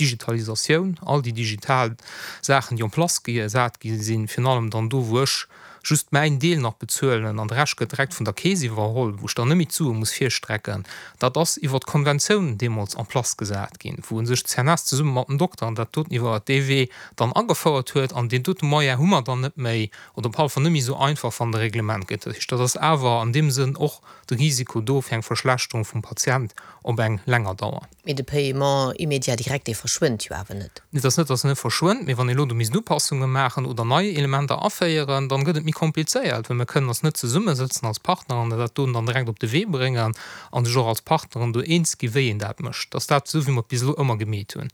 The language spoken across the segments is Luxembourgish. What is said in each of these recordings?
d'Digitalisatioun, all déi digital Saachen, déi en place gesat gi sinn, virun allem dann do, wou ech just mäin Deel nach bezuelen an de Rescht gëtt direkt vun der Keess iwwerholl, wou ech dann net méi d'Sue muss virstrecken, dat ass iwwer d'Konventioun deemools en place gesat ginn, wou u sech d'CNS zesumme mat den Dokteren dat doten iwwer dee Wee dann agefouert huet. An deen dote Moyen hu mer dann net méi oder op alle Fall net méi esou einfach, wann de Reglement gëtt. Dat heescht, dat ass awer an deem Sënn och de Risiko do fir eng Verschlechterung vum Patient op eng länger Dauer. Mee de Paiement immédiat direct, dee verschwënnt jo awer net. Et ass net, datt en net verschwënnt, mee wann ee elo do misst Upassunge maachen oder nei Elementer aféieren, dann gëtt et méi komplizéiert, well mir kënnen eis net zesummesëtzen als Partner an dat doen dann direkt op de Wee bréngen a sech och als Partneren do eens gi wéi een dat mécht. Dass dat esou wéi mer et bis elo ëmmer gemeet hunn.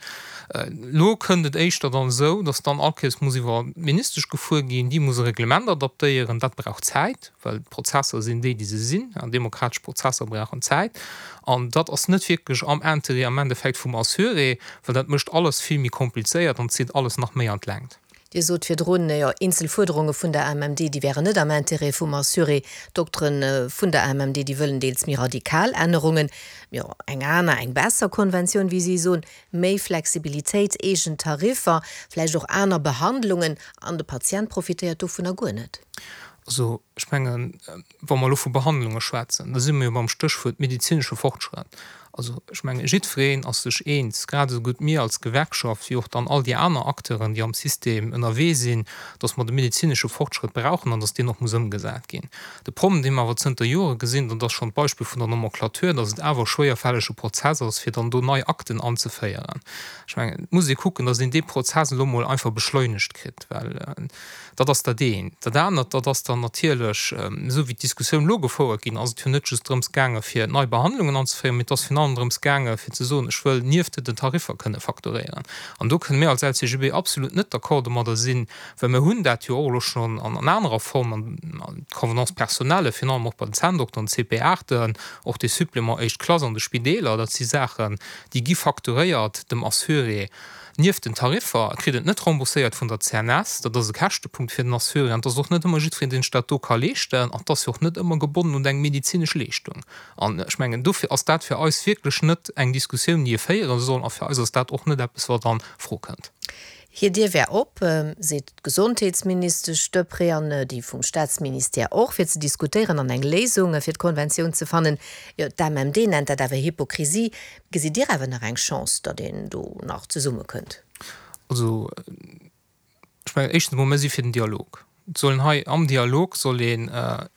Elo kënnt et éischter dann esou, datt dann all Kéiers muss iwwer d'Ministesch gefuer ginn, déi muss e Reglement adaptéieren, dat brauch Zäit. well d'Prozesser sinn déi, déi se sinn, an demokratesch Prozesser brauchen Zäit, an dat ass net wierklech am Interêt am Endeffekt vum Assuré, well dat mécht alles vill méi komplizéiert an zitt alles nach méi an d'Längt. Dir sot virdrun, jo, eenzel Fuerderunge vun der AMMD, déi wären net am Interêt vum Assuré. D'Doktere vun der AMMD, déi wëllen deels méi radikal Ännerungen, jo, eng aner, eng besser Konventioun, wéi si soen, méi Flexibilitéit, eegen Tariffer, vläicht och aner Behandlungen, an de Patient profitéiert dovunner guer net. Also, ech mengen, wa mer elo vu Behandlunge schwätzen, da si mer jo beim Stéchwuert medezinesche Fortschrëtt. Also, ech mengen, jiddwereen ass sech eens, grad esou gutt mir als Gewerkschaft wéi och dann all déi aner Acteuren, déi am System ënnerwee sinn, dass mer de medezinesche Fortschrëtt brauchen an dass deen och muss ëmgesat ginn. De Problem, dee mer awer zënter Jore gesinn, dat ass schonn d'Beispill vun der Nomenclature, dass et awer e schwéierfällege Prozess ass, fir dann do nei Akten anzeféieren. Ech mengen, et muss ee kucken, dass een dee Prozess elo emol einfach beschleunegt kritt, well Dat ass dat eent. Dat anert, dat ass dann natierlech, esou wéi d'Diskussioun elo gefouert ginn ass, et jo net just drëms gaange fir nei Behandlungen anzeféieren, mee et ass virun allem drëms gaange fir ze soen, ech wëll nieft den Tariffer kënne facturéieren. An do kënne mir als LCGB absolut net d'accord domadder sinn, well mir hunn dat jo och elo schonn an anerer Form, an d'Convenance personnelle, virun allem och bei den Zänndokteren, d'CP-Aarten, och de Supplément éischt Klass an de Spideeler, dat si Saachen, déi gi facturéiert dem Assuré. Nieft den Tariffer kritt en et net rembourséiert vun der CNS. Dat ass e Käschtepunkt fir den Assuré an et ass och net ëmmer jiddwereen, deen sech dat do ka leeschten. An et ass jo och net ëmmer gebonnen un eng medezinesch Leeschtung. An ech mengen, dofir ass dat fir eis wierklech net eng Diskussioun, déi ee féiere soll. A fir eis ass dat och net eppes, wat a Fro kënnt. Hir Dier wär op, seet d'Gesondheetsministesch Deprez an déi vum Staatsministère och, fir ze diskutéieren an eng Léisung fir d'Konventioun ze fannen. Jo, d'AMMD nennt dat awer Hypokrisie. Gesitt Dir awer nach eng Chance, datt een do nach zesummekënnt? Also, ech mengen, éischtens emol, mir si fir den Dialog. Et sollen hei am Dialog soll een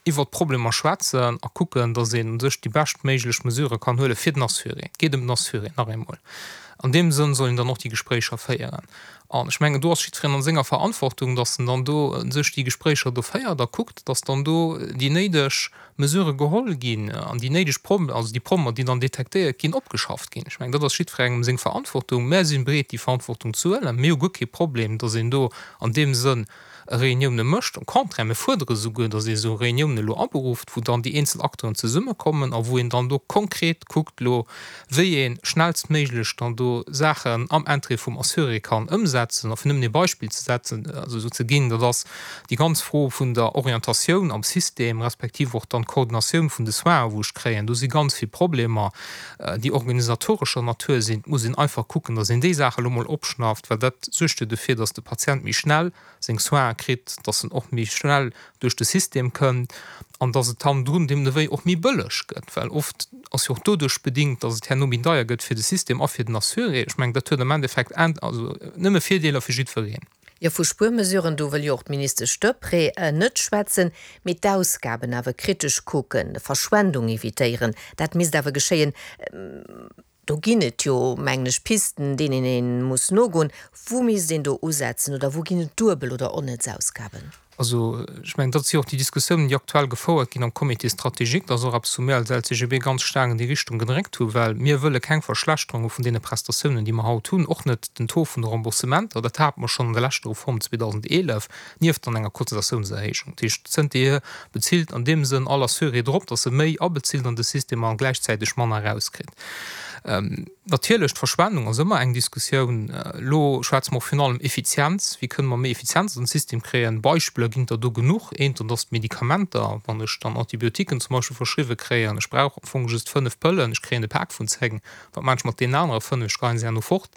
iwwert d'Problemer schwätzen a kucken, datt een u sech déi beschtméiglech Mesurë kann huele fir den Assuré. Et geet ëm den Assuré, nach eemol. An deem Sënn soll een dann och déi Gespréicher féieren. An ech mengen, do ass jiddwereen an senger Verantwortung, datt en dann do u sech déi Gespréicher do féiert a kuckt, datt dann do déi néideg Mesurë geholl ginn an déi néideg Problemer, also déi Problemer, déi dann detektéiert ginn, opgeschafft ginn. Ech mengen, dat ass jiddwerengem seng Verantwortung. Mär si bereet, déi Verantwortung ze huelen. Mir hu guer kee Problem, datt een do an deem Sënn Reunioune mécht. Au contraire, mir fuerdere souguer, datt ee esou Reuniounen elo aberufft, wou dann déi eenzel Acteuren zesummekommen a wou een dann do konkret kuckt elo, wéi ee schnellstméiglech dann do Saachen am Interêt vum Assuré kann ëmsetzen. A fir nëmmen ee Beispill ze setzen, also esou ze ginn, dat ass déi ganz Fro vun der Orientatioun am System, respektiv och dann d'Koordinatioun vun de Soinen, wou ech kréien. Do si ganz vill Problemer, déi organisatorescher Natur sinn. Et muss een einfach kucken, datt een déi Saache elo mol opschnafft, well dat suergt jo dofir, datt de Patient méi schnell seng Soinen kritt, datt en och méi schnell duerch de System kënnt an datt et hannendrun deemno wéi och méi bëlleg gëtt, well oft ass jo och doduerch bedingt, datt et herno méi deier gëtt fir de System a fir den Assuré. Ech mengen, dat huet am Endeffekt also nëmme Virdeeler fir jiddwereen. Jo, vu Spuermesuren, do wëll jo och d'Ministesch Deprez net schwätzen, mee d'Ausgaben awer kritesch kucken, Verschwendung evitéieren, dat misst awer geschéien. Do ginn et jo, mengen ech, Pisten, deenen ee muss nogoen. Wou misst een do usetzen oder wou ginn et duebel oder onnëtz Ausgaben? Also, ech mengen, dat si jo och déi Diskussiounen, déi aktuell gefouert ginn am Comité stratégique. Dat ass och eppes, wou mir als LCGB ganz staark an déi Richtung gedréckt hunn, well mir wëlle keng Verschlechterunge vun deene Prestatiounen, déi mer haut hunn, och net den Taux vun de Remboursementer. Dat hate mer schonn an der leschter Reform 2011. nieft dann enger Cotisatiounserhéijung. Dat heescht, zënterhier bezilt an deem Sënn all Assuré drop, datt e méi abezilt an de System a gläichzäiteg manner erauskritt. Natierlech, d'Verschwendung ass ëmmer eng Diskussioun. Elo schwätze mer och virun allem Effizienz. Wéi kënne mer méi Effizienz an den System kréien? Beispiller ginn der do genuch. Eent, dat ass d'Medikamenter. Wann ech dann Antibiotiquen zum Beispill verschriwwe kréien, ech brauch am Fong just 5 Pëllen, ech kréien e Pak vun 10, wat maachen ech mat deenen anere 5? Ech geheien se herno fort.